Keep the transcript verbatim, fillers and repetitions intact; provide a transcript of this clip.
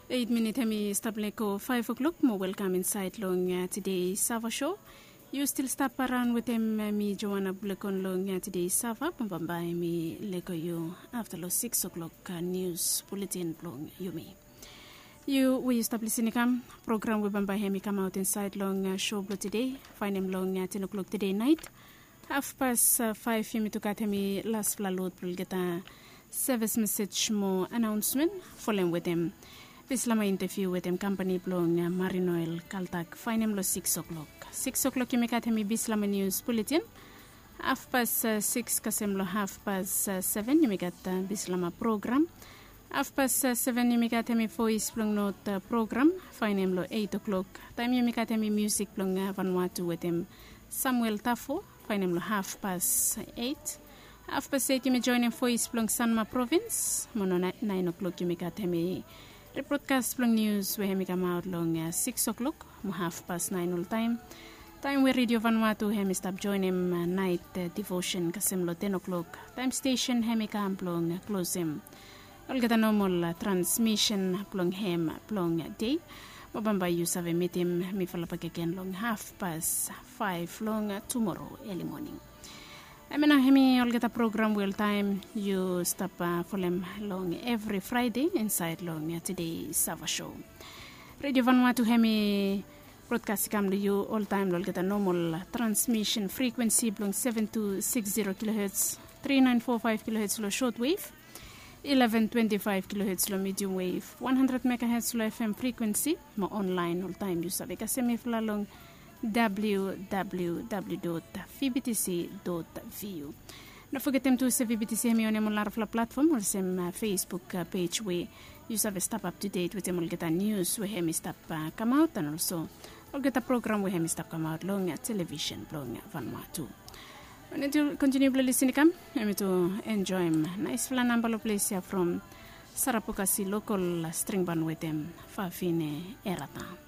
Eit minit hem i stap lego faef o'klok mo welkam insaed long tede sava sho. Yu stil stap araon wetem mi Joana Bulekon long tede sava mo bambae mi lego yu afta long sikis o'klok nius buletin blong yumi. Yu we yu stap lisin i kam, program we bambae hem i kamaot insaed long sho blong tede, faenem long ten o'klok tede naet. Hafpas faef yumi tu gat hem i laspela lod blong olgeta sevis mesej mo anaonsmen, folem wetem bislama inteviu wetem kampani blong marinoel kaltak, faenem long sikis o'klok. Sikis o'klok yumi gat hem i bislama nius buletin. Hafpas sikis kasem long hafpas seven yumi gat bislama program. Hafpas seven yumi gat hem i voes blong not program, faenem long eit o'klok. Taem yumi gat hem i musik blong vanua tu wetem samuel tafo, faenem long hafpas eit. Hafpas eit yumi joenem voes blong sanma provins mo long naen o'klok yumi gat hem i ripotkas blong nius we hem i kamaot long sikis o'klok mo hafpas naen oltaem. Taem we redio vanua tu hem i stap joenem naet divosen kasem long ten o'klok, taem stesen hem i kam blong klosem olgeta nomol transmisen blong hem blong dei. Mo bambae yu save mitim mifala bakegen long hafpas faef long tumoro eli moning. Hemia nao hem i olgeta program we oltaem yu stap folem long evri fraede insaed long tede sava sho. Redio vanua tu hem i brodkas i kam long yu oltaem long olgeta nomol transmisen frikwensi blong seven two six zero kiloherts, three nine four five kiloherts long short wave, eleven twenty five kiloherts long medium wave, one hundred megaherts long fm frikwensi. Mo onlaen oltaem yu save kasem mifala long www vbtc. Vu. No fogetem tu se vbtc hem i onem ol narafala platfom olsem facebook pej we yu save stap aptudet wetem olgeta nius we hem i stap kamaot an olso olgeta program we hem i stap kamaot long televisen blong vanua tu. Wan yu tu kontiniu blong lisin i kam, hem i tu enjoem naesfala namba long ples ya from sarapokasi lokol stringban wetem fafine erata.